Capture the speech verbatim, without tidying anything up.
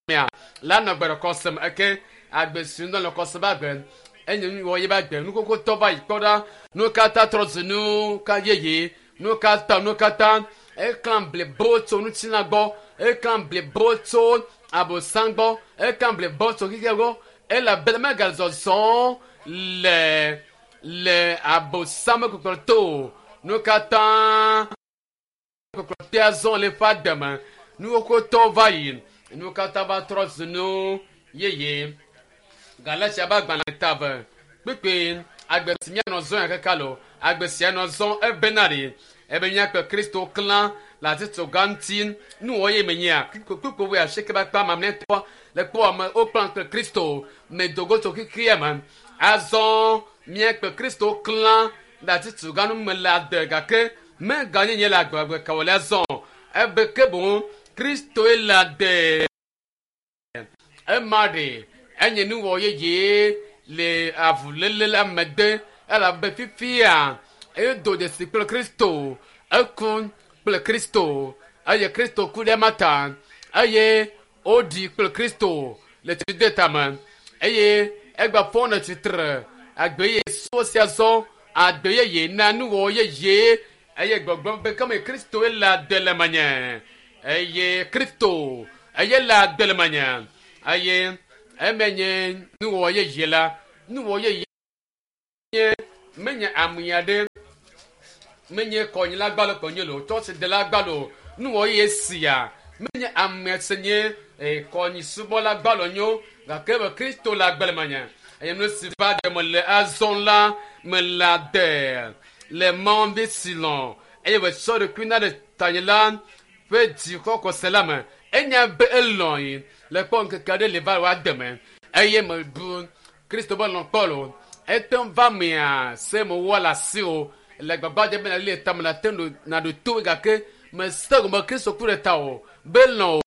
Mea la nɔ gbeɖekɔ eke agbe si ŋdɔ le kɔse ba gbe enye nu wɔ ye ba gbe nukoko tɔ va yi kpɔ ɖa nu katã trɔ zu nu ka yeye nu katã nu katã eklã blibo tso ŋutilã gbɔ eklã blibo tso abosam gbɔ eklã blibo tso xixia gbɔ elabena megazɔzɔ le le abosam ƒe kpɔkplɔ to o nu katã kpɔkplɔ tea zɔ le eƒe ademe nuwo tɔ va yi nu katã va trɔ zu nu yeye Galatia ƒe agbalẽ ta eve kpekpe agbe si míanɔ zɔ ya kaka lo agbe sia nɔ zɔ ebena ɖe ebe míakpe Kristo klã le atitsoga ŋuti nuwɔ ye menyea kpekpe wo asieke ƒe akpa mamlɛtɔ le kpɔ ame wokplã kple Kristo me dogo tso xexea me azɔ míakpe Kristo klã le atitsoga nu me le ade gake meganye nye le agbagbe kawɔlia zɔ ebe ke boŋ Kristoe le ade ema ɖe enye nuwɔ yeye le avuléle la mede elabe fifia edo dzesi kple Kristo eku kple Kristo eye Kristo ku ɖe ema ta eye woɖi kple Kristo le tside tame eye egba fɔ nɔ tsitre agbe ye so sia zɔ agbe yeye na nuwɔ yeye eye gbɔgblɔ be kame Kristoe le ade le menye eye Kristo eye le ade le menye eye eme nye nuwɔ yeye la nuwɔ yeye nye menye ame aɖe menye kɔnyila gbalo kɔnye lo tsɔtsidela gbalo nuwɔ yeye sia menye ame si nye kɔnyisubɔla gbalo nyo gake be Kristo le agbe le menye eye nu si va de me le azɔ la me le ade le Mawu vi si lɔ̃ eye wòtsɔ ɖokui na ɖe tanye la ƒe dzixɔxɔse la me enya be elɔ̃ yi le kpɔ ŋkeke aɖe le va wòade me eye mebu Kristo be lɔ̃ kpɔ lo ete ŋu va mea se mewɔ le asi o le gbagba dze be nali le tame nate ŋu naɖo to gake mese gɔme Kristo ku ɖe ta o be lɔ̃ o